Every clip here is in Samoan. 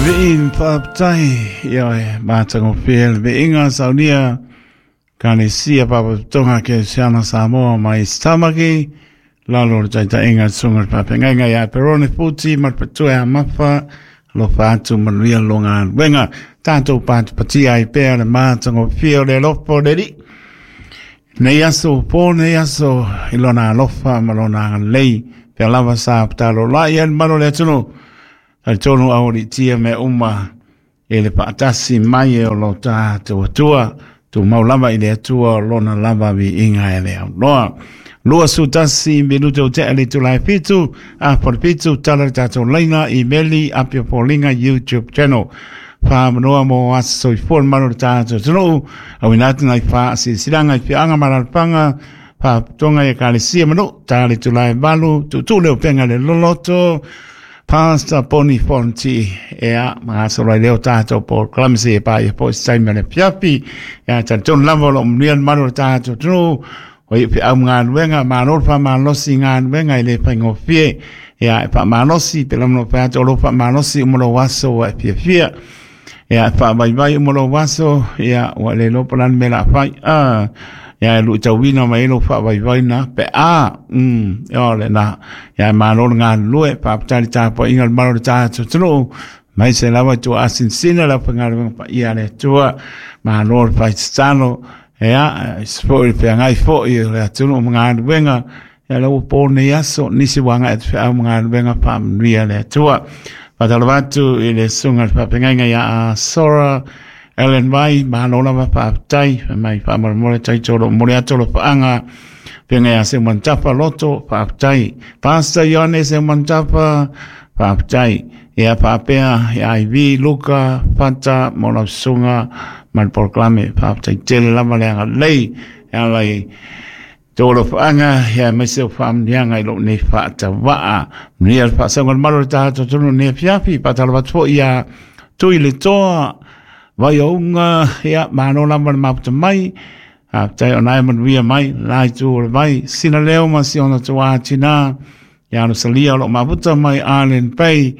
Vii faafetai ia e matagofie le viiga saunia Ekalesia Faalapotopotoga Kerisiano Samoa mai Tamaki lalo o le taitaiga le susuga i le faafeagaiga ia Perone Futi ma le Patua ia Mafa alofa atu manuia lo galuega tatou patipatia ai pea le matagofie o le alofa o le Alii nei aso po nei aso i lona alofa ma lona agalelei pea lava sa tatalo lai ai le malu o le atunuu talitonu aualiitia mea uma e le faatasi mai e o lo tatou Atua, tumau lava i le Atua o lona lava viiga e le aunoa. 21 minute o tea le itula e 7, a po le 7, tala le tatou laina, imeli, apia foliga, YouTube channel. Whaamanoa mo aso soifua le malu o le tatou atunuu, auina atu nai faasilasilaga i afioaga ma alaalafaga, faalapotopotoga i ekalesia ma nuu, ta le itula e 8, tuutuu le upega i le loloto, Pastor Poni Fonti, ea, magasolo ai lea o tatou polokalame seia paia foi se taimi o le afiafi. Ea, talitonu lava o lo o manuia le malu o le tatou atunuu, o ia feau ma galuega, malo le faamalosi i galuega e le faigofie. Ea, e faamalosi, pe lama fai atu o lo o faamalosi uma lou aso ua e fiafia. Ea, e faavaivai uma lou aso, ea, ua le iloa po o le a le mea o le a fai. Ah, ea, e luitauina mai ai lou faavaivaiga pe a, o lena. Ea, malo le galulue, faafetai i le tapuaiga a le malu o le tatou atunuu, aemaise lava i tuaasinsina le aufaigaluega paia a le Atua, malo le fai tatalo, ea, aemaise foi le feagai foi o le atunuu ma galuega, ea la ua po nei aso, nisi ua agai atu feau ma galuega faamanuia le Atua. Faatalofa atu i le susuga i le faafeagaiga ia Sora Ellen Vai, malo lava faafetai, fai mai faamolemole taito o lo o momoli atu alofaaga feagai ia Seumanutafa Loto, faafetai. Pastor Ioane Seumanutafa, faafetai. Ia faapea ia Ivy Luka Fata mo lau susuga ma le polokalame, faafetai tele lava le agalelei e ala i tou alofaaga ia aemaise o faamanuiaga i lou nei faatavaa. Manuia le faasauga o le malu o le tatou atunuu i lenei afiafi. Faatalofa atu foi ia Tui le Toa, Vaiouga, ia malo lava le mafuta mai. Faafetai o na e manuia mai la itu o le vai. Sina leo ma si ona tuā tinā. Ia Rosalia o lo o mafuta mai Island Bay.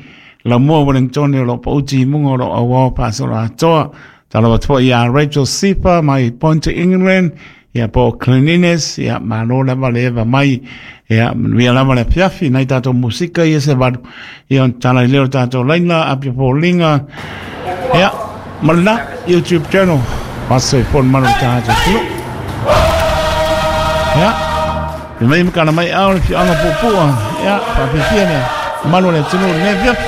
Laumua Wellington o lo o pauti i muga o lo o auao faasolo atoa. Talofa atu foi ia Rachel Sifa mai Pointer England. Ia po o Cleanliness, ia malo lava le eva mai. Ia manuia lava le afiafi nai tatou musika ia se valu. Ia ona tala i lea o tatou laina, apia foliga. Ia, ma lena YouTube channel. Aso soifua le malu o le tatou atunuu. Ia, fai mai ma kana mai ao le afioaga o Puapua. Ia, faafiafia le malu o le atunuu i lenei afiafi.